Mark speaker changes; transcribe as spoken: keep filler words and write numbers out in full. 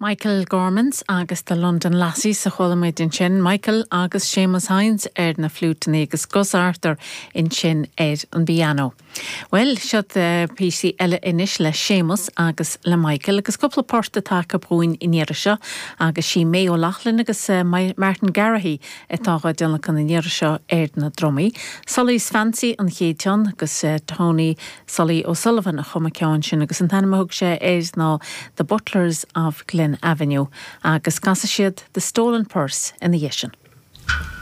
Speaker 1: Michael Gormans agus the London Lassies a chuala muid ansin Michael agus Seamus Hines ar na fliúiteanna agus Gus Arthur ansin ar an bpianó. Well seo píosa eile anois le Seamus agus le Michael agus cúpla port atá acu dúinn an iarraidh seo agus sí May O'Loughlin agus uh, Martin Garrahy atá á dtionlacan an iarraidh seo ar na drumaí. Sully's Fancy an chéad cheann agus uh, Tony Sully O'Sullivan a chum an ceann sin agus an t-ainm a thug sé air ná The Butlers of Glen Avenue agus casfaidh siad The Stolen Purse ina dhiaidh sin.